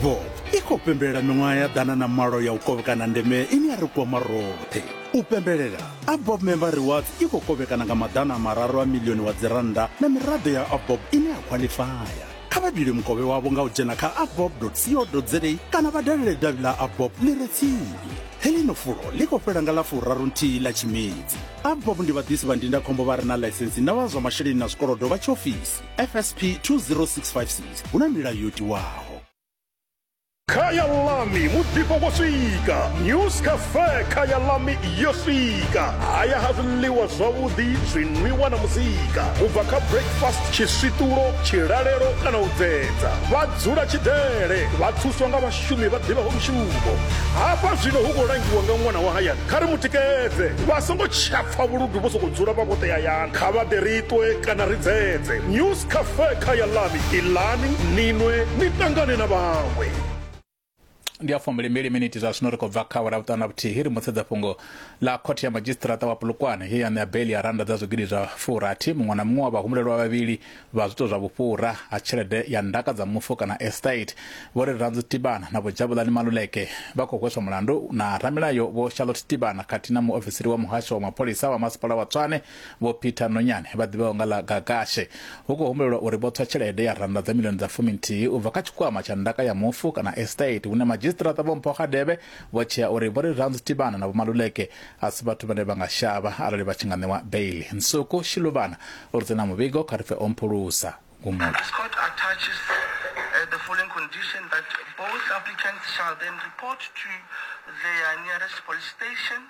Avbob i khou pembelela miṅwaha ya 108 ya u kovhekana ndeme ine ya ri kwama roṱhe. U pembelela, Avbob Member Rewards i khou kovhekana nga 300 a miḽioni wa dzirannda na miraḓo ya Avbob ine ya khwaḽifaya. Kha vha bile mukovhe wavho nga u dzhena kha avbob.co.za kana vha dalele davhi ḽa Avbob ḽi re tsini. Heḽino fulo ḽi khou fhela nga ḽa 31 ḽa Tshimedzi. Avbob ndi vhaḓisi vha ndindakhombo vha re na ḽaisentsi na vha zwa masheleni na zwikolodo vha tshiofisi. FSP 20656 hu na milayo yo tiwaho. Khaya Lami muḓifho wo swika News Cafe Khaya Lami yo swika haya ha zwiḽiwa zwavhuḓi zwinwiwa na muzika u bva kha breakfast tshiswiṱulo tshilalelo kana u dzedza vha dzula tshidele vha thuswa nga vhashumi vha ḓivhaho mushumo hafha zwino hu khou langiwa nga ṅwana wa hayani kha ri mu tikedze vha songo tsha pfa vhuludu vho sokou dzula vha vhoṱhe hayani kha vha ḓe ri ṱwe kana ri dzedze news cafe kha ya lami iḽani ni nwe ni ṱangane na vhaṅwe. Ndi a 22 miniti zwa zwino ri khou bva kha awara vhuṱanu na vhuthihi ri mutsedza fhungo ḽa khothe ya madzhisiṱiraṱa wa Polokwane ye ya ṋea beili ya rannda dza zwigidi zwa furathi muṅwe na muṅwe wa vhahumbulelwa vhavhili vha zwiito zwa vhufhura ha tshelede ya ndaka dza mufu kana estate. Vho Rirhandzu Tibana na Vho Jabulani Maluleke vha khou hweswa mulandu na ramilayo Vho Charlotte Tibana khathihi na muofisiri wa muhasho wa mapholisa wa masipala wa Tshwane Vho Peter Nonyane vha ḓivheaho nga ḽa Gakashe. Hu khou humbulelwa uri vho tswa tshelede ya rannda dza milioni dza fuminthihi u bva kha tshikwama tsha ndaka ya mufu kana estate hune madzhisiṱiraṱa Vho Mpho Radebe vho tshea uri Vho Rirhandzu Tibana na Vho Maluleke a si vhathu vhane vha nga shavha arali vha tshi nga ṋewa beili. Nsuku Shiluvana u ri tsena muvhigo kha ri pfe o mphulusa gumula. This court attaches uh, the following condition that both applicants shall then report to their nearest police station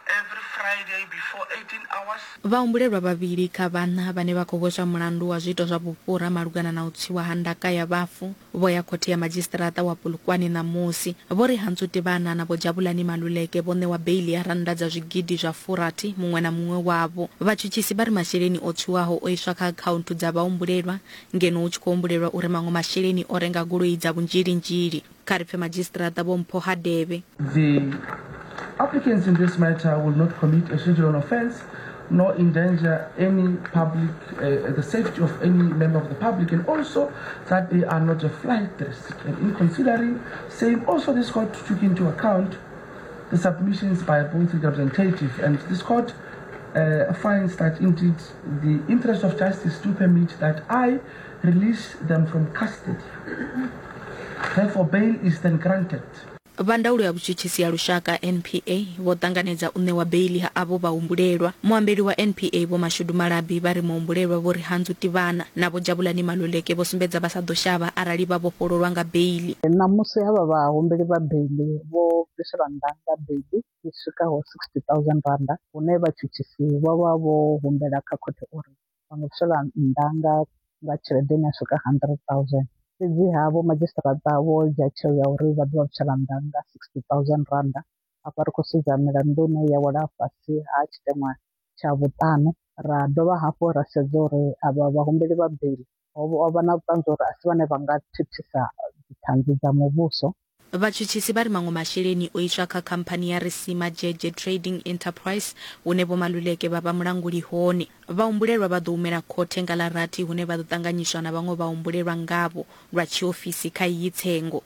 every Friday before 18 hours. Vhahumbulelwa vhavhili kha vhaṋa vhane vha khou hweswa mulandu wa zwiito zwa vhufhura malugana na u tswiwa ha ndaka ya vhafu vho ya khothe ya madzhisiṱiraṱa wa Polokwane ṋamusi. Vho Rirhandzu Tibana na Vho Jabulani Maluleke vho ṋewa beiḽi ya rannda dza zwigidi zwa furathi muṅwe na muṅwe wavho. Vhatshutshisi vha ri masheleni o tswiwaho o iswa kha akhaunthu dza vhahumbulelwa ngeno hu tshi khou humbulelwa uri maṅwe masheleni o renga goloi dza vhunzhilinzhili. Kha ri pfe madzhisiṱiraṱa Vho Mpho Hadebe. The applicants in this matter will not commit a schedule offence nor endanger any public, uh, the safety of any member of the public, and also that they are not a flight risk. And in considering same, also this court took into account the submissions by both the representative, and this court uh, finds that indeed the interest of justice do permit that I release them from custody. Therefore, bail is then granted. Vha ndaulo ya vhutshutshisi ya lushaka, NPA, vho ṱanganedza u ṋewa beiḽi ha avho vhahumbulelwa. Muambeli wa NPA Vho Mashudu Malabi vha ri muhumbulelwa Vho Rirhandzu Tivhana na Vho Jabulani Maluleke vho sumbedza vha sa ḓo shavha arali vha vhofhololwa nga beiḽi. Ṋamusi havha vhahumbeli vha beiḽi vho bviselwa nnḓa nga beiḽi i swikaho R60,000 hune vhatshutshisi vho vha vho humbela kha khothe uri vha nga bviselwa nnḓa nga nga tshelede ine ya swika 100,000. Fhedziha vho madzhisiṱiraṱa vho dzhia tsheo ya uri vha ḓo vha bvisela nnḓa nga R60,000. Afha ri khou sedza milandu ine ya wela fhasi ha tshiteṅwa tsha vhuṱanu. Ra dovha hafhu ra sedza uri avha vhahumbeli vha beiḽi ho vha na vhuṱanzi uri a si vhane vha nga thithisa dziṱhanzi dza muvhuso. Vhatshutshisi vha ri maṅwe masheleni o iswa kha khamphani ya Risima Dzhedzhe Trading Enterprise hune Vho Maluleke vha vha mulanguli hone. Vhahumbulelwa vha ḓo humela khothe nga ḽa rathi hune vha ḓo ṱanganyiswa na vhaṅwe vhahumbulelwa ngavho lwa tshiofisi kha iyi tsengo.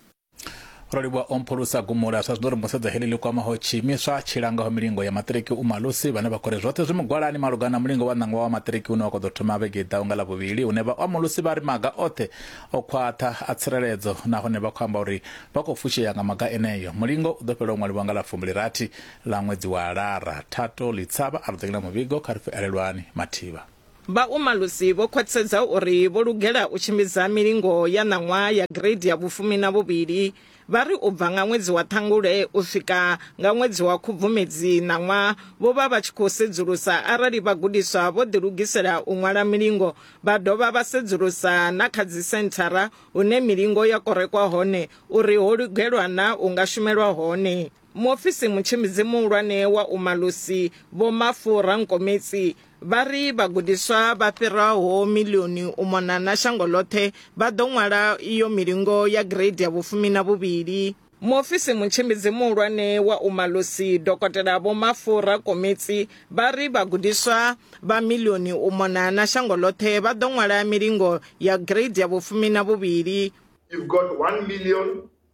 Ro livhuwa o mphulusa gumula zwa zwino ri musedza heḽi ḽi kwamaho tshiimiswa tshi langaho milingo ya maṱiriki u malusi vhane vha khou ri zwoṱhe zwi mugwalani malugana na mulingo wa ṋangwa wa maṱiriki une wa khou ḓo thoma vhege i ḓaho nga Ḽavhuvhili hune vha Malusi vha ri maga oṱhe o khwaṱha a tsireledzo nahone vha khou amba uri vha khou fushea nga maga eneyo. Mulingo u ḓo fhela u ṅwaliwa nga ḽa 16 ḽa ṅwedzi wa Lara. Thato Litshavha a ri ḓengela muvhigo kha ri pfe Elelwani Mathivha. Vha Umalusi vho khwaṱhisedza uri vho lugela u tshimbidza milingo ya ṋaṅwaha ya gireidi ya vhufumi na vhuvhili. Vha ri u bva nga ṅwedzi wa Ṱhangule u swika nga ṅwedzi wa Khubvumedzi ṋaṅwaha vho vha vha tshi khou sedzulusa arali vhagudiswa vho ḓilugisela u ṅwala milingo Vha dovha vha sedzulusa na kha dzisenthara hune milingo ya korekwa hone uri ho lugelwa na u nga shumelwa hone. Muofisi mutshimbidzi muhulwane wa Umalusi Vho Mafu Rankometsi vha ri vhagudiswa vha fhiraho miḽioni u mona na shango ḽoṱhe vha ḓo ṅwala iyo milingo ya gireidi ya vhufumi na vhuvhili. Muofisi mutshimbidzi muhulwane wa Umalusi Dokotela Vho Mafu Rakometsi vha ri vhagudiswa vha miḽioni u mona na shango ḽoṱhe vha ḓo ṅwala milingo ya gireidi ya vhufumi na vhuvhili. You've got 1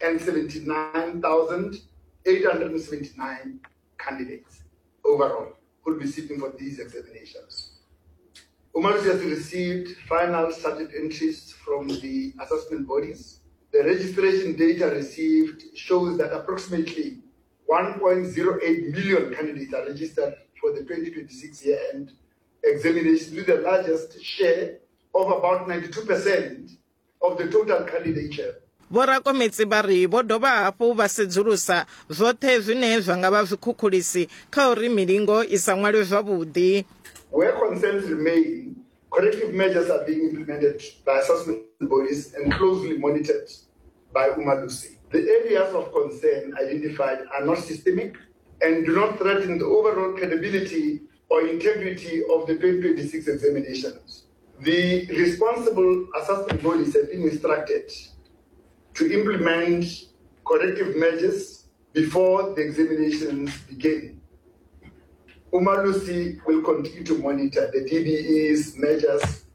179,879 candidates overall who will be sitting for these examinations. Umalusi has received final subject entries from the assessment bodies. The registration data received shows that approximately 1.08 million candidates are registered for the 2026 year-end examination, with the largest share of about 92% of the total candidature. Vho Rakometsi vha ri vho dovha hafhu vha sedzulusa zwoṱhe zwine zwa nga vha zwikhukhulisi kha uri milingo i sa ṅwalwe zwavhuḓi. Where concerns remain, corrective measures are being implemented by assessment bodies and closely monitored by Umalusi. The areas of concern identified are not systemic and do not threaten the overall credibility or integrity of the 2026 examinations. The responsible assessment bodies have been instructed to implement corrective measures before the examinations begin. Umalusi will continue to monitor the DBE's measures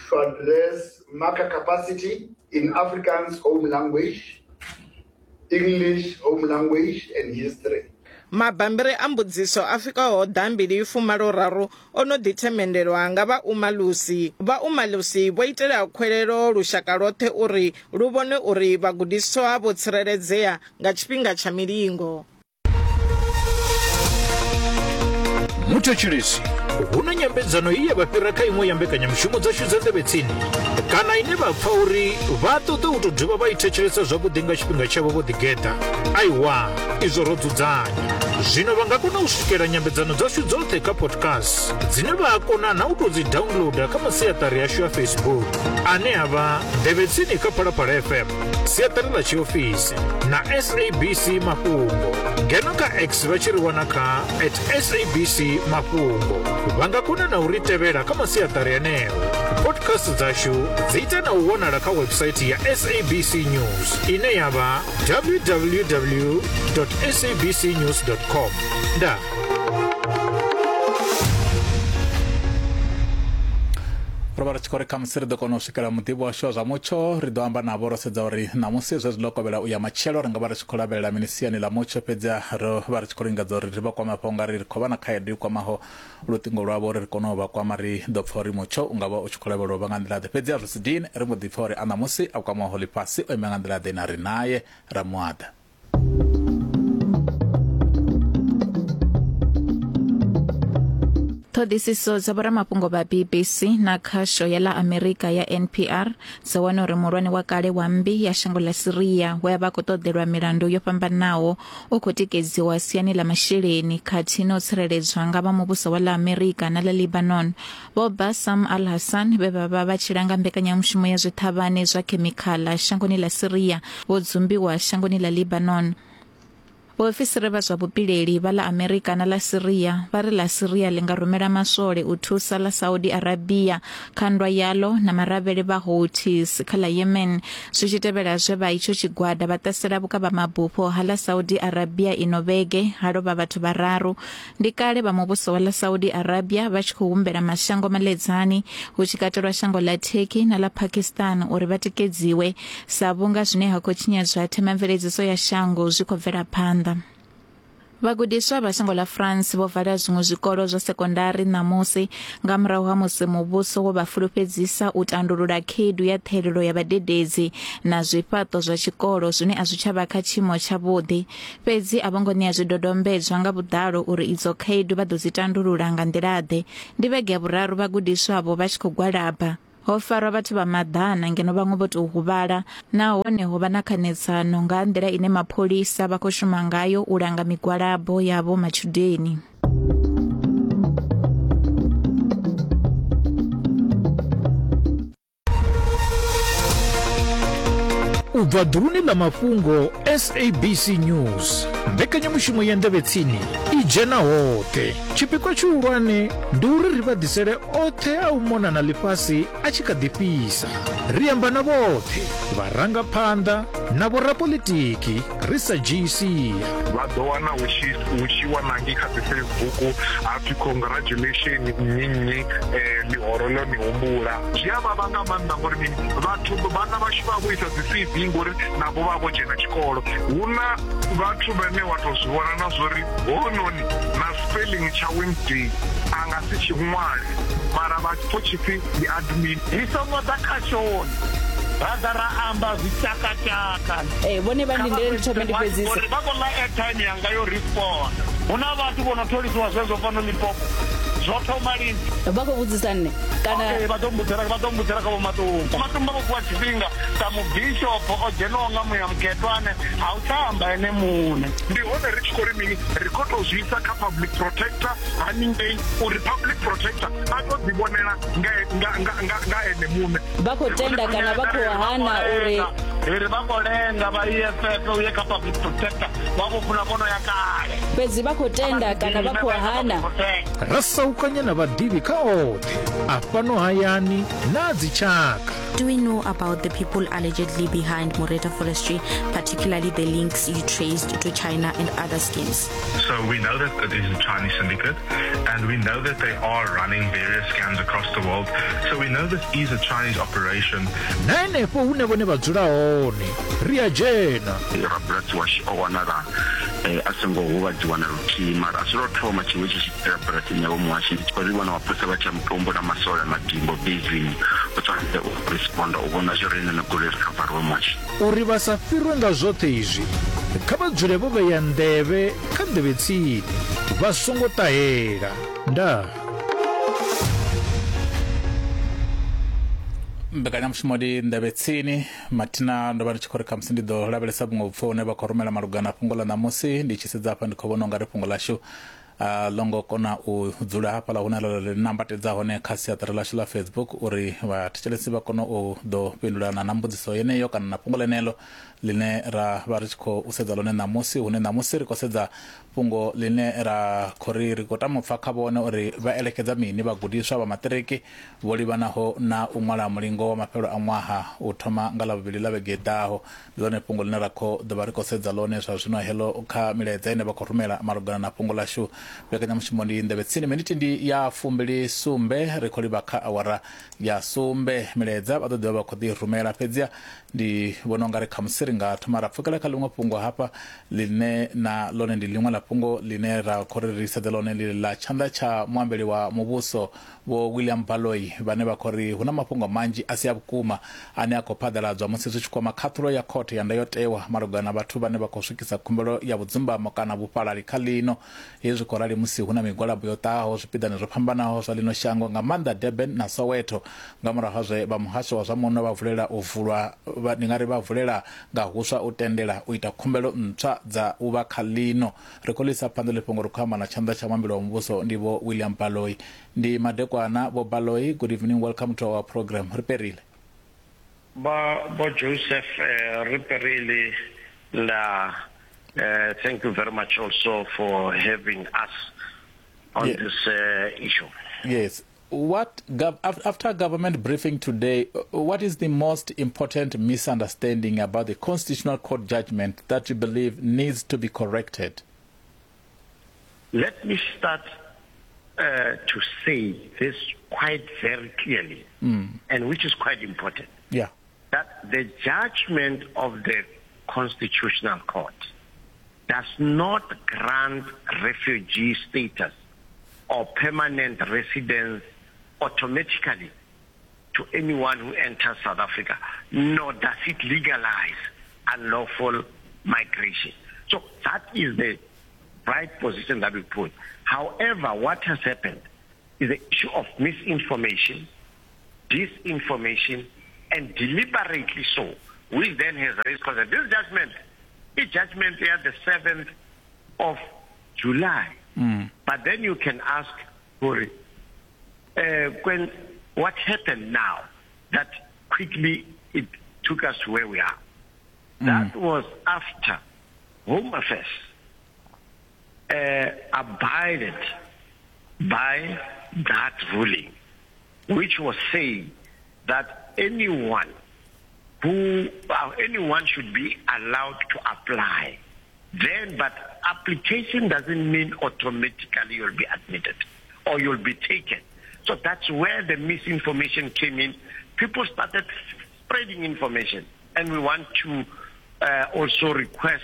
to address marker capacity in Afrikaans home language, English home language, and history. Mabambiri a mbudziso a swikaho ḓambili fumalo raru o no ḓi themendelwa nga vha Umalusi. Vha Umalusi vho itela khwelelo lushaka lwoṱhe uri lu vhone uri vhagudiswa vho tsireledzea nga tshifhinga tsha milingo. Muthetshelesi, hu na nyambedzano ye ya vha fhira kha iṅwe ya mbekanyamushumo dzashu dza Nḓevhe Tsini kana ine vha pfa uri vha ṱoḓa u tou dovha vha i thetshelesa zwavhuḓi nga tshifhinga tshavho vho ḓigeḓa? Aiwa, izwo ro dzudzanya. Zwino vha nga kona u swikela nyambedzano dzashu dzoṱhe kha podcast dzine vha a kona na u tou dzi downloada kha masiaṱari ashu a Facebook ane a vha Nḓevhe Tsini kha Phalaphala FM, siaṱari ḽa tshiofisi na SABC Mafhungo. Ngeno kha X vha tshi ri wana kha at SABC Mafhungo. Vha nga kona na u ri tevhela kha masiaṱari aneo. Podcast dzashu dzi ita na u wanala kha website ya SABC News ine ya vha www sabcnews com. Ndaa. Ro vha ri tshi khou ri khamusi ri ḓo kona u swikela muḓivhi washu wa zwa mutsho, ri ḓo amba navho ro sedza uri ṋamusi zwezwi ḽo kovhela u ya matshelo ri nga vha ri tshi khou lavhelela mini siani ḽa mutsho. Fhedzi ro vha ri tshi khou lingedza uri ri vha kwame afha ungari ri khou vha na khaedu i kwamaho luṱingo lwavho uri ri kone u vha kwama. Ri ḓo pfa uri mutsho u nga vha u tshi khou lavhelelwa u vha nga nḓila ḓe, fhedzi a zwi si dini ri mbo ḓi pfa uri a ṋamusi a kwamaho ḽifhasi o ima nga nḓila ḓe na ri naye ra muaḓa. Ṱhoḓisiso dza vhoramafhungo vha BBC na khasho ya ḽa Amerika ya NPR dzo wana uri muhulwane wa kale wa mmbi ya shango ḽa Syria we a vha khou ṱoḓelwa milandu yo fhambanaho u khou tikedziwa siani ḽa masheleni khathihi na u tsireledzwa nga vha muvhuso wa ḽa Amerika na ḽa Lebanon. Vho Bassam al-Hassan vhe vha vha vha tshi langa mbekanyamushumo ya zwiṱhavhane zwa khemikhala shangoni ḽa Syria vho dzumbiwa shangoni ḽa Lebanon. Vhaofisiri vha zwa vhupileli vha ḽa Amerika na ḽa Syria vha ri ḽa Syria ḽi nga rumela maswole u thusa ḽa Saudi Arabia kha nndwa yaḽo na maravhele vha Houthis kha ḽa Yemen, zwi tshi tevhela zwe vha itsho tshigwada vha ṱasela vhukavhamabufho ha ḽa Saudi Arabia ino vhege ha lovha vhathu vhararu. Ndi kale vha muvhuso wa ḽa Saudi Arabia vha tshi khou humbela mashango maledzani, hu tshi katelwa shango ḽa Turkey na ḽa Pakistan uri vha tikedziwe, sa vhunga zwine ha khou tshinyadzwa themamveledziso ya shango zwi khou bvela phanḓa. Vhagudiswa vha shango ḽa France vho vala zwiṅwe zwikolo zwa sekondari ṋamusi nga murahu ha musi muvhuso wo vha fulufhedzisa u tandulula khaedu ya ṱhahelelo ya vhadededzi na zwifhaṱo zwa tshikolo zwine a zwi tsha vha kha tshiimo tshavhuḓi. Fhedzi a vho ngo ṋea zwidodombedzwa nga vhuḓalo uri idzo khaedu vha ḓo dzi tandulula nga nḓila-ḓe. Ndi vhege ya vhuraru vhagudiswa avho vha tshi khou gwalaba. Ho farwa vhathu vha maḓana ngeno vhaṅwe vho tou huvhala nahone ho vha na khanedzano nga ha nḓila ine mapholisa vha khou shuma ngayo u langa migwalabo ya vho matshudeni. U bva ḓuluni ḽa mafhungo SABC News. Mbekanyamushumo ya Nḓevhe Tsini i dzhena hoṱhe. Tshipikwa tshihulwane ndi uri ri vha ḓisele oṱhe a u mona na ḽifhasi a tshi kha ḓi fhisa. Ri amba na vhoṱhe, vharangaphanḓa na vhorapolitiki ri sa dzhii sia. Vha ḓo wana hu tshi hu tshi wa na ngei kha dzi Facebook ha pfi congratulation nnyi nnyi ḽihoro ḽo ni humbula. Zwi a vhavha nga maanḓa ngori mini vhathu vhana vhashu vha vho isa dzi CV ngori navho vha vho dzhena tshikolo. Hu na vhathu vhane wa tou zwi vhona na zwori hounoni na spelling tsha Wednesday a nga si tshi ṅwale mara vha pfo tshipfi ndi admin. Ri songo ḓa khashoni ra ḓa ra amba zwitshakatshaka. Ee, vhone vha ndindele ndi thome ndi fhedzise. Ngori vha khou ḽa airtime yanga yo respond. Hu na vhathu vho no tholisiwa zwezwo fhano Limpopo. Zwo thoma lini? Vha khou vhudzisa nṋe kana? Okay, vha ḓo mbudzela vha ḓo mbudzela kha Vho Matumba. Matumba vho fhiwa tshifhinga sa mubishopo o dzhenwaho nga muya mukhethwa ane ha u tsha amba ene muṋe. Ndi hone ri tshi khou ri mini, ri khou tou zwi isa kha public protector haningei uri public protector a tou ḓivhonela nga, nga, nga, nga, nga ene muṋe. Vha khou tenda kana vha khou hana uri. Ri ri vha khou lenga vha EFF u ye kha public protector vha vho funa vho no ya kale. Fhedzi vha khou tenda kana vha khou hana. Ra saukanya na vhaḓivhi kha oṱhe a fhano hayani na a dzitshaka. Do we know about the people allegedly behind Moreta Forestry, particularly the links you traced to China and other schemes? So we know that it is a Chinese syndicate, and we know that they are running various scams across the world. So we know this is a Chinese operation. Na henefho hune vhone vha dzula hone ri a dzhena. Rabulasi washu o wanala a songo huvhadziwa na luthihi mara a si lwo thoma tshiwo itshi tshi itea bulasini ya Vho Muhashe. Ndi tshi khou ri vhona mapholisa vha tshi ya Mutombo na masole a Madimbo basini u tshwanetse u responder u vhona zwori ene goloi ri khavariwe Muhashe. Uri vha sa fhirwe nga zwoṱhe izwi, kha vha dzule vho vhea nḓevhe kha nḓevhe tsini, vha songo ṱahela. Ndaa. Mbekanyamushumo ndi nḓevhe tsini mathina ndo vha ndi tshi khou ri khamusi ndi ḓo lavhelesa vhuṅwe vhupfo hune vha khou rumela malugana fhungo ḽa ṋamusi ndi tshi sedza hafha ndi khou vhona ungari fhungo ḽashu a ḽo ngo kona u dzula hafhaḽa hune ḽa ri nambatedza hone kha siaṱari ḽashu ḽa Facebook uri vhathetshelesi vha kone u ḓo fhindulana na mbudziso yeneyo kana na fhungo ḽeneḽo ḽine ra vha ri tshi khou sedza ḽone ṋamusi, hune ṋamusi ri khou sedza fhungo ḽine ra khou ri ri khou tama u pfa kha vhone uri vha elekedza mini vhagudiswa vha maṱiriki vho livhanaho na u ṅwala mulingo wa mafhelo a ṅwaha u thoma nga Ḽavhuvhili ḽa vhege i ḓaho. Ndi ḽone fhungo ḽine ra khou ḓo vha ri khou sedza ḽone zwa zwino heḽo kha milaedza ine vha khou rumela malugana na fhungo ḽashu. Mbekanyamushumo ndi Nḓevhe Tsini, miniti ndi ya fumbili sumbe, ri khou livha kha awara ya sumbe. Milaedza vha ḓo ḓivha vha khou ḓi rumela, fhedziha ndi vhona u nga ri khamusi ri nga thoma ra pfukela kha ḽiṅwe fhungo hafha ḽine na ḽone ndi ḽiṅwe ḽa fhungo ḽine ra khou ri ri sedze ḽone ḽi ḽa tshanḓa tsha muambeli wa muvhuso Vho William Baloyi vhane vha khou ri hu na mafhungo manzhi a si a vhukuma ane a khou phaḓaladzwa musi zwi tshi kwama khaṱhulo ya khothe ya ndayotewa malugana na vhathu vhane vha khou swikisa khumbelo ya vhudzumbamo kana vhufhalali kha ḽino. Hezwi zwi khou rali musi hu na migwalabo yo ṱahaho zwipiḓani zwo fhambanaho zwa ḽino shango nga maanḓa Durban na Soweto nga murahu ha zwe vha muhasho wa zwa muno vha vulela u vulwa ndi nga ri vha vulela nga huswa u tendela u ita khumbelo ntswa dza u vha kha ḽino. Ri khou ḽi isa phanḓa ḽi fhungo ri khou amba na tshanḓa tsha muambeli wa muvhuso ndi Vho William Baloyi. Ndi madekwana Vho Baloyi, good evening, welcome to our program. Ri perile. Vha Vho Joseph eh, ri perile nda eh, thank you very much also for having us on yeah. this uh, issue. Yes. What after government briefing today, what is the most important misunderstanding about the Constitutional Court judgment that you believe needs to be corrected? Let me start uh, to say this quite very clearly, mm. and which is quite important. Yeah. That the judgment of the Constitutional Court does not grant refugee status or permanent residence automatically to anyone who enters South Africa, nor does it legalize unlawful migration. So that is the right position that we put. However, what has happened is the issue of misinformation, disinformation, and deliberately so, which then has raised concern. This judgment, this judgment here, the 7th of July. Mm. But then you can ask, Hori, uh, when, what happened now that quickly it took us to where we are? Mm. That was after Home Affairs uh, abided by that ruling, which was saying that anyone who uh, anyone should be allowed to apply. Then, but application doesn't mean automatically you'll be admitted or you'll be taken. So that's where the misinformation came in. People started spreading information, and we want to uh, also request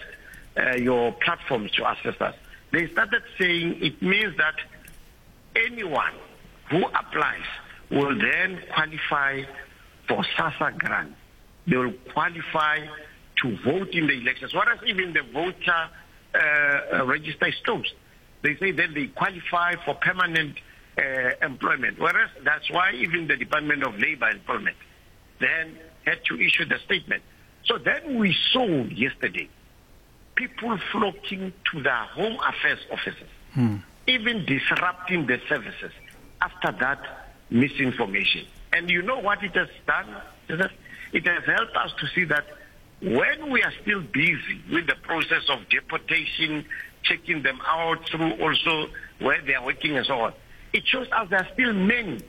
uh, your platforms to assist us. They started saying it means that anyone who applies will then qualify for SASA grant. They will qualify to vote in the elections. Whereas even the voter uh, uh, register is closed. They say that they qualify for permanent uh, employment. Whereas that's why even the Department of Labor Employment then had to issue the statement. So then we saw yesterday people flocking to the Home Affairs offices, hmm. even disrupting the services after that misinformation. And you know what it has done? It has helped us to see that when we are still busy with the process of deportation, checking them out through also where they are working and so on, it shows us there are still many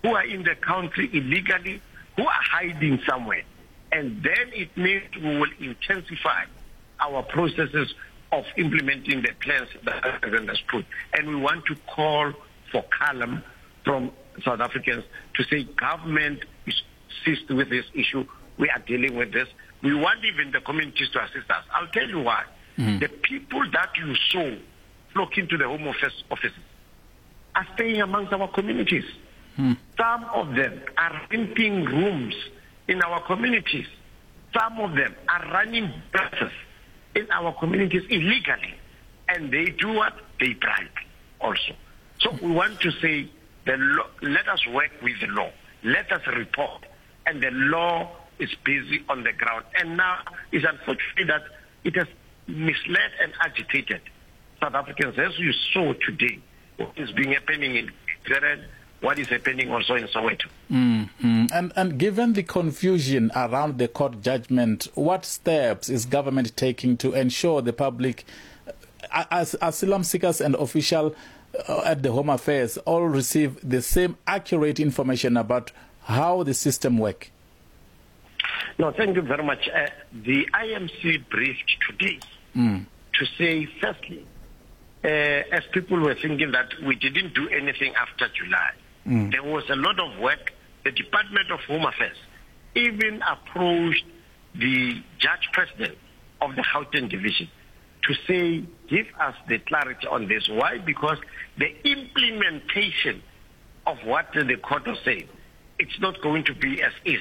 who are in the country illegally, who are hiding somewhere. And then it means we will intensify our processes of implementing the plans that the president has put. And we want to call for calm from South Africans to say government is ceased with this issue. We are dealing with this. We want even the communities to assist us. I'll tell you why. Mm. The people that you saw flocking to the Home Office offices are staying amongst our communities. Mm. Some of them are renting rooms in our communities. Some of them are running buses in our communities illegally. And they do what? They bribe also. So we want to say, the law, let us work with the law. Let us report. And the law is busy on the ground. And now it's unfortunate that it has misled and agitated South Africans, as you saw today, what is being happening in Keren, what is happening also in Soweto. Mm-hmm. And, and given the confusion around the court judgment, what steps is government taking to ensure the public, uh, as asylum seekers and official uh, at the Home Affairs, all receive the same accurate information about how the system works? No, thank you very much. Uh, the IMC briefed today mm. to say, firstly, uh, as people were thinking that we didn't do anything after July, mm. there was a lot of work. The Department of Home Affairs even approached the judge president of the Gauteng Division to say, give us the clarity on this. Why? Because the implementation of what the court was saying, it's not going to be as easy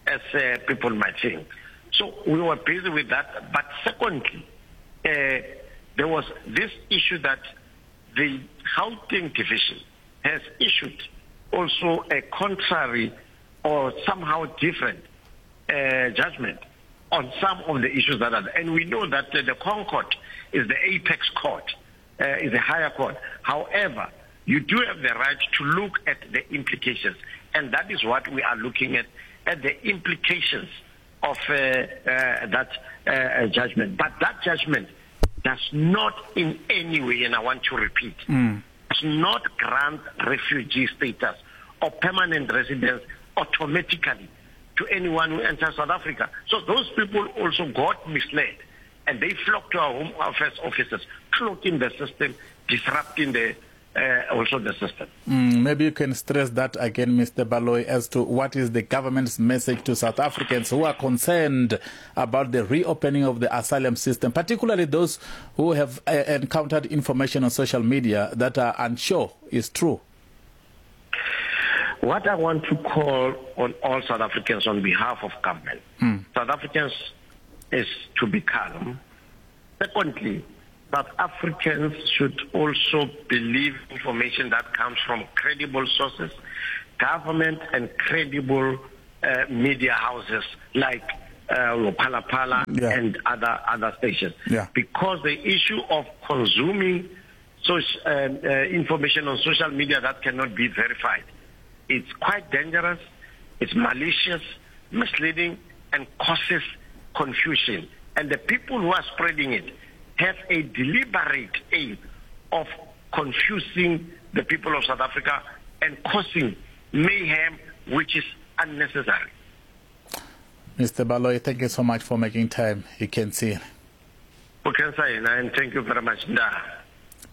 as uh, people might think. So we were busy with that. But secondly, uh, there was this issue that the Gauteng Division has issued also a contrary or somehow different uh, judgment on some of the issues that are there. And we know that uh, the Concord is the apex court, uh, is a higher court. However, you do have the right to look at the implications. And that is what we are looking at, at the implications of uh, uh, that uh, judgment. But that judgment does not in any way, and I want to repeat, mm. does not grant refugee status or permanent residence automatically to anyone who enters South Africa. So those people also got misled and they flocked to our home affairs offices, clogging the system, disrupting the uh, also the system. Mm, maybe you can stress that again, Mr. Baloyi, as to what is the government's message to South Africans who are concerned about the reopening of the asylum system, particularly those who have uh, encountered information on social media that are unsure is true. What I want to call on all South Africans on behalf of government, mm. South Africans is to be calm. Secondly, South Africans should also believe information that comes from credible sources, government and credible uh, media houses like uh, Phala yeah. and other other stations. Yeah. Because the issue of consuming social, uh, uh, information on social media that cannot be verified, it's quite dangerous, it's malicious, misleading, and causes confusion. And the people who are spreading it have a deliberate aim of confusing the people of South Africa and causing mayhem which is unnecessary. Mr. Baloyi, thank you so much for making time. You can see. U khensa hina and thank you very much ndaa.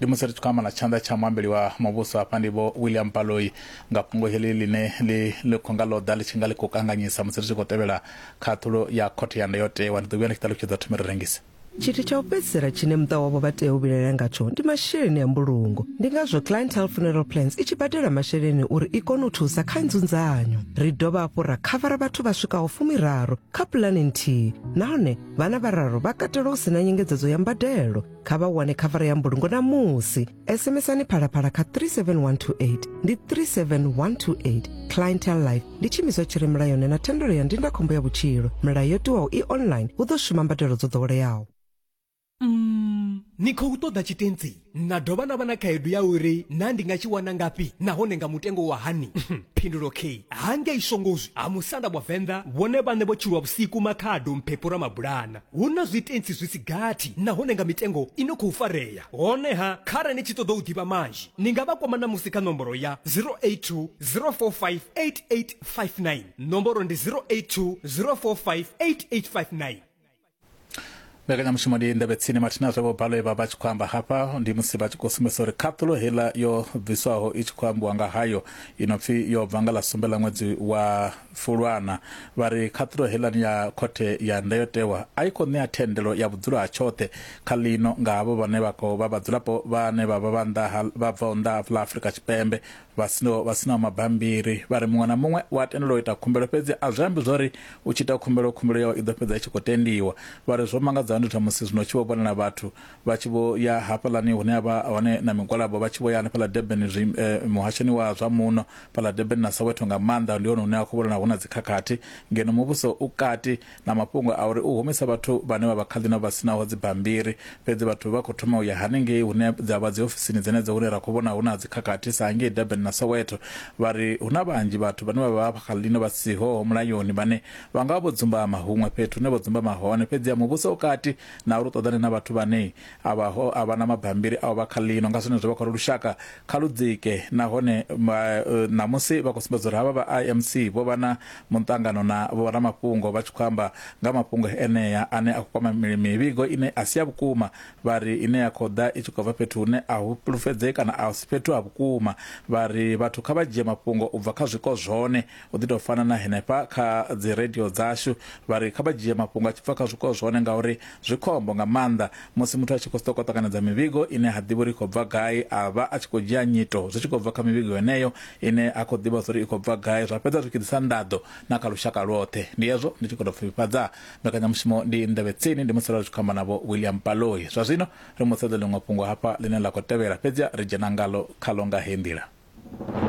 Ndi musi ri tshi khou amba na tshanḓa tsha muambeli wa muvhuso hafha ndi vho William Baloyi nga fhungo heḽi ḽine ḽi ḽi khou nga ḽo ḓa ḽi tshi nga ḽi khou kanganyisa musi ri tshi khou tevhela khaṱhulo ya khothe ya ndayotewa. Ndi ḓo vhuya ndi tshi ṱalutshedza thome ri rengise. Tshithu tsha u fhedzisela tshine muṱa wavho vha tea u vhilaela ngatsho ndi masheleni a mbulungo. Ndi ngazwo Clientele Funeral Plans i tshi badela masheleni uri i kone u thusa kha nzunzanyo. Ri dovha hafhu ra khavara vhathu vha swikaho fumiraru kha pulane nthihi nahone vhana vhararu vha katelwa hu si na nyengedzedzo ya mbadelo. Kha vha wane khavara ya mbulungo ṋamusi. SMSani Phalaphala kha 37128 ndi 37128. Clientele Life ndi tshiimiswa tshi re mulayoni na thendelo ya ndindakhombo ya vhutshilo. Milayo yo tiwaho i online, hu ḓo shuma mbadelo dzo ḓoweleaho. Mm, ni khou ṱoḓa tshitentsi na dovha na vha na khaedu ya uri na ndi nga tshi wana ngafhi nahone nga mutengo wa hani? Phindulo K hangei Shongozwi ha musanda wa Venḓa vhone vhaṋe vho tshilwa vhusiku Makhado Mphephu Ramabulana. Hu na zwitentsi zwi si gathi nahone nga mitengo i no khou farea. Honeha, kharali ni tshi ṱoḓa u ḓivha manzhi, ni nga vha kwama ṋamusi kha nomboro ya 082 045 8859. Nomboro ndi 082 045 8859. Mbekanyamushumo ndi nḓevhe tsini mathina zwe vho Baloyi vha vha tshi khou amba hafha ndi musi vha tshi khou sumbedzisa uri khaṱulo heiḽa yo bviswaho i tshi khou ambiwa nga hayo i no pfi yo bva nga ḽa sumbe ḽa ṅwedzi wa Fulwana. Vha ri khaṱulo heiḽani ya khothe ya ndayotewa a i khou ṋea thendelo ya vhudzulo ha tshoṱhe kha ḽino nga havho vhane vha khou vha vhadzulapo vhane vha vha vha nnḓa ha vha bvaho nnḓa ha ḽa Afrika Tshipembe vha sinaho vha sinaho mabambiri. Vha ri muṅwe na muṅwe u a tendelwa u ita khumbelo fhedzi a zwi ambi zwori u tshi ita khumbelo khumbelo yawe i ḓo fhedza i tshi khou tendiwa. Vha ri zwo mangadzaho ndi musi zwino tshi vho vhonala vhathu vha tshi vho ya hafhaḽani hune ha vha hone na migwalabo vha tshi vho ya hanefhaḽa Durban zwi, eh, muhashoni wa zwa muno fhaḽa Durban na Soweto nga maanḓa ndi hone hune ha khou vhonala hu na dzikhakhathi ngeno muvhuso u kati na mafhungo a uri u humisa vhathu vhane vha vha kha ḽino vha sinaho dzibammbiri fhedzi vhathu vha khou thoma u ya hanengei hune dza vha dziofisini dzenedzo hune ra khou vhona hu na dzikhakhathi sa ngei Durban na Soweto. Vha ri hu na vhanzhi vhathu vhane vha vha kha ḽino vha siho mulayoni vhane vha nga vha vho dzumbama huṅwe fhethu hune vho dzumbama hone fhedzi ya muvhuso u kati na uri u ṱoḓane na vhathu vhane a vha ho a vha na mabambiri a u vha kha ḽino. Nga zwenezwo vha khou ri lushaka kha lu dzike nahone ṋamusi vha khou sumbedza uri havha vha IMC vho vha na muṱangano na vhoramafhungo vha tshi khou amba nga mafhungo enea ane a khou kwama mivhigo ine a si ya vhukuma vha ri ine ya khou ḓa i tshi khou bva fhethu hune a hu fhulufhedzei kana a si fhethu ha vhukuma. Vha ri vhathu kha vha dzhie mafhungo u bva kha zwiko zwone u ḓi tou fana na henefha kha dzi radio dzashu. Vha ri kha vha dzhie mafhungo a tshi bva kha zwiko zwone ngauri zwi khombo nga maanḓa musi muthu a tshi khou sokou ṱanganedza mivhigo ine ha ḓivhi uri i khou bva gai a vha a tshi khou dzhia nyito zwi tshi khou bva kha mivhigo yeneyo ine ha khou ḓivha uri i khou bva gai zwa fhedza zwi tshi ḓisa nḓaḓo na kha lushaka lwoṱhe. Ndi hezwo ndi tshi khou tou pfufhifhadza mbekanyamushumo ndi nḓevhe tsini ndi musi ra tshi khou amba navho William Baloyi. Zwa zwino ri mu sedze ḽiṅwe fhungo hafha ḽine ḽa khou tevhela fhedzi ri dzhena ngalo khalo nga heyi nḓila.